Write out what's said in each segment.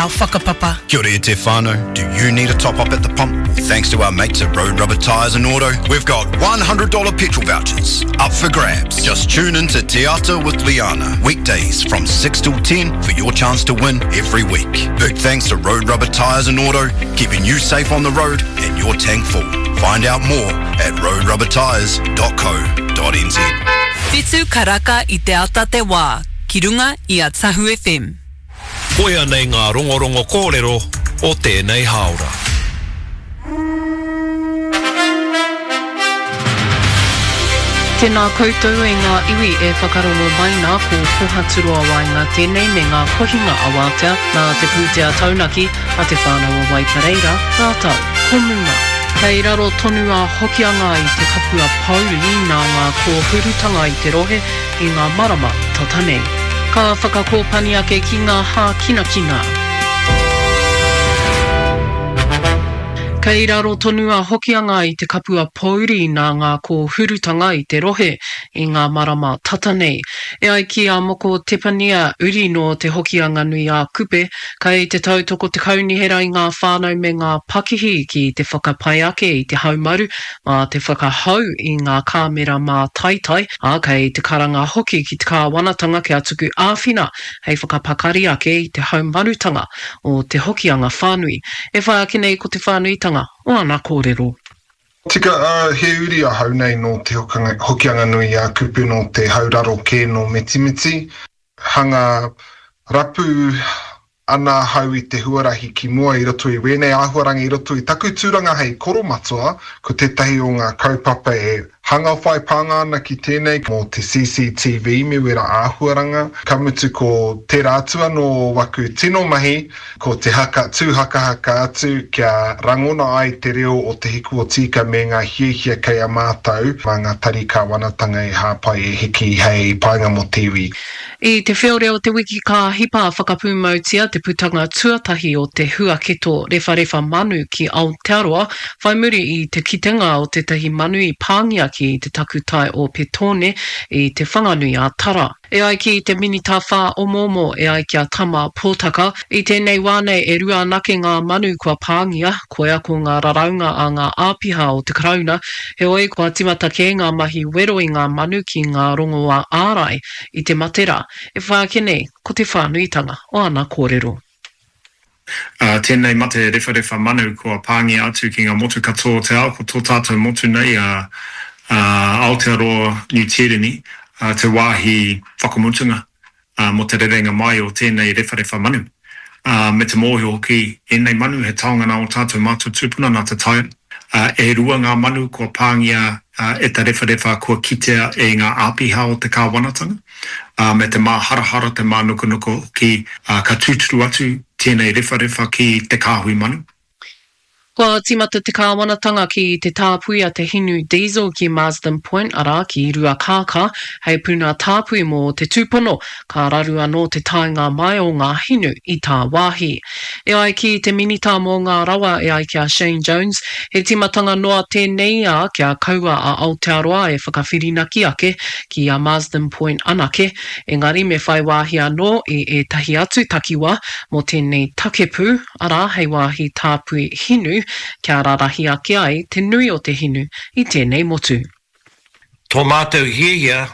our whakapapa. Kia ora e te whānau, do you need a top up at the pump? Well, thanks to our mates at Road Rubber Tyres and Auto, we've got $100 petrol vouchers up for grabs. Just tune in to Te Ata with Liana, weekdays from 6 till 10 for your chance to win every week. Big thanks to Road Rubber Tyres and Auto, keeping you safe on the road and your tank full. Find out more at roadrubbertyres.co.nz. Whitu karaka i te ata te wā, ki runga i a Tahu FM. Koia nei ngā rongorongo kōrero o tēnei hāora. Tēnā koutou e ngā iwi e whakarongo mai nā, ko Pohaturoa Waenga tēnei me ngā kohinga awatea nā te pūtea taunaki a Te Whānau o Waipareira rātou ko Muna. Kei raro tonu a Hokianga i te kapua pōuri nā ngā kōhurutanga i te rohe i ngā marama tata nei. Ka whakakōpani ake ki ngā hākinakina. Kei raro tonu a Hokianga i te kapua pōuri nā ngā kōhurutanga i te rohe i ngā marama tata nei. E ai ki a Moko Tepania, uri nō Te Hokianga-nui-ā-Kupe, kei te tautoko te kaunihera i ngā whānau me ngā pakihi ki te whakapai ake i te haumaru mā te whakahou i ngā kāmera mātaitai, ā, kei te karanga hoki ki te kāwanatanga kia tuku āwhina hei whakapakari ake i te haumarutanga o te Hokianga whānui. E whai ake nei ko te whānuitanga o ana kōrero. Tika, ā, he uri ahau nei nō Te Hokianga-nui-ā-Kupe, nō te hauraro kē nō Mitimiti. Hanga rapu ana ahau i te huarahi ki mua i roto i wēnei āhuaranga i roto i taku tūranga hei koromatua, ko tētahi o ngā kaupapa e hanga whai pānga ana ki tēnei mō te CCTV me wērā āhuaranga, ka mutu ko tērā atu anō o waku tino mahi ko te haka tū hakahaka atu kia rangona ai te reo o Te Hiku o Tīka me ngā hiahia kei a mātou mā ngā tari kāwanatanga e hāpai e hiki hei painga mō te iwi. I te whiore o te wiki ka hipa whakapūmautia te putanga tuatahi o te huaketo rewharewha manu ki Aotearoa whai muri i te kitenga o tētahi manu i pāngia ki te takutai o Petone i Te Whanganui-a-Tara. E ai ki te Minita Whāomoomo, e ai ki a Tama Potaka, i tēnei wā nei e rua anake ngā manu kua pāngia, koia ko ngā raraunga a ngā āpiha o te Karauna, heoi kua timata kē ngā mahi wero i ngā manu ki ngā rongoā ārai i te mate rā. E whai ake nei ko te whānuitanga o ana kōrero. Ā, tēnei mate rewharewha manu kua pāngia atu ki ngā motu katoa o te ao, ko tō tātou motu nei a Aotearoa Niu Tīreni te wāhi whakamutunga mō te rerenga mai o tēnei rewharewha manu. Ā, me te mōhio hoki, ēnei manu he taonga nā ō tātou mātua tūpuna, nā te taiao. Ā, e rua ngā manu kua pāngia e te rewharewha kua kitea e ngā āpiha o te kāwanatanga, ā, me te māharahara, te mānukanuka hoki, ā, ka tūturu atu tēnei rewharewha ki te kāhui manu. Kua tīmata te kāwanatanga ki te tāpui a te hinu diesel ki Marsden Point, arā, ki Ruakākā, hei puna tāpui mō te tūpono ka raru anō te taenga mai o ngā hinu i tāwāhi. E ai ki te Minita mō ngā Rawa e ai ki a Shane Jones, he tīmatanga noa tēnei, ā, kia kaua a Aotearoa e whakawhirinaki ake ki a Marsden Point anake, engari me whai wāhi anō i ētahi atu takiwā mō tēnei takepū, arā, hei wāhi tāpui hinu, kia rarahi ake ai te nui o te hinu i tēnei motu. Tō mātou hiahia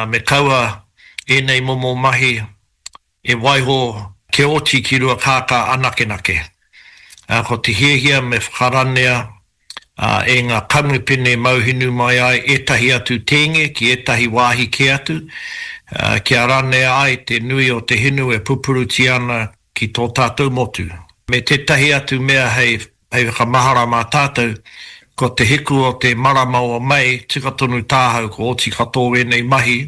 me kaua ēnei momo mahi e waiho kia oti ki Ruakākā anakenake. Ko te hiahia me whakaranea e ngā kamupene mauhinu mai ai ētahi atu tēnge ki ētahi wāhi kē atu, kia ranea ai te nui o te hinu e pupurutia ana ki tō tātou motu. Me tētahi atu mea hei whakamahara mā tātou, ko te hiku o te marama o Mei, tika tonu tāhau kua oti katoa wēnei mahi.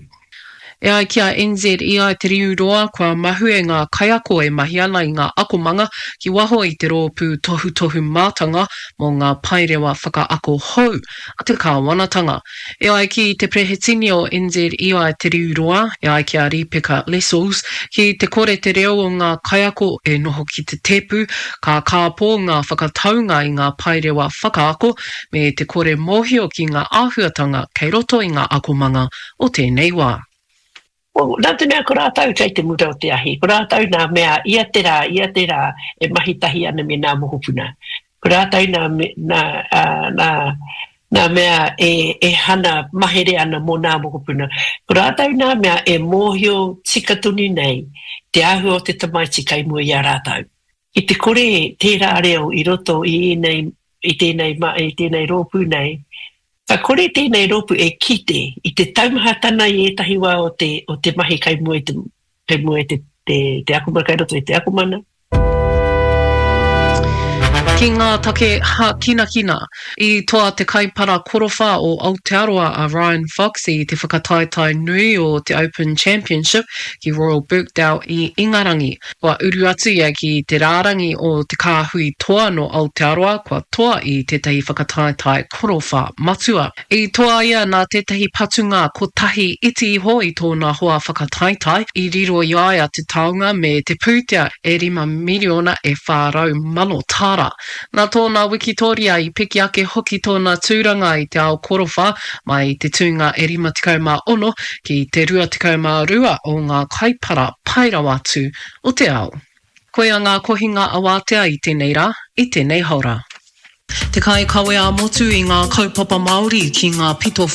E ai ki a NZEI Te Riu Roa, kua mahue ngā kaiako e mahi ana i ngā akomanga ki waho i te rōpū tohutohu mātanga mō ngā paerewa whakaako hou a te kāwanatanga. E ai ki te Perehetini o NZEI Te Riu Roa, e ai ki a Rīpeka Lessels, ki te kore te reo o ngā kaiako e noho ki te tēpu, ka kāpō ngā whakataunga i ngā paerewa whakaako me te kore mōhio ki ngā āhuatanga kei roto i ngā akomanga o tēnei wā. Well, nā te mea ko rātou kei te mura o te ahi, ko rātou nā mea ia te rā, ia te rā e mahi tahi ana me nā mokopuna. Ko rātou nā, nā, nā, nā mea e, e hana mahere ana mō nā mokopuna. Ko rātou nā mea e mōhio tika tonu nei te āhua o te tamaiti kei mua i a rātou. Ki te kore tērā reo i roto i ēnei, i tēnei, i tēnei rōpū nei, Ka kore tēnei rōpū e kite i te taumahatana i ētahi wā o te, o te mahi kei mua i te, kei mua i te, te, te akomanga, kei roto i te akomanga. Ki ngā take hākinakina, i toa te kaipara korowha o Aotearoa a Ryan Fox i te whakataetae nui o te Open Championship ki Royal Birkdale i Ingarangi. Kua uru atu ia ki te rārangi o te kāhui toa nō Aotearoa kua toa i tētahi whakataetae korowha matua. I toa ia nā tētahi patunga kotahi iti iho i tōna hoa whakataetae, i riro i a ia te taonga me te pūtea e 5 miriona e 400,000 tāra. Nā tōna wikitōria i piki ake hoki tōna tūranga i te ao korowha mai i te tūnga e 56 ki te 22 o ngā kaipara pai rawa atu o te ao. Koia ngā kohinga awātea i tēnei rā, i tēnei haora. Te kaikawe ā-motu i ngā kaupapa Māori ki ngā pito.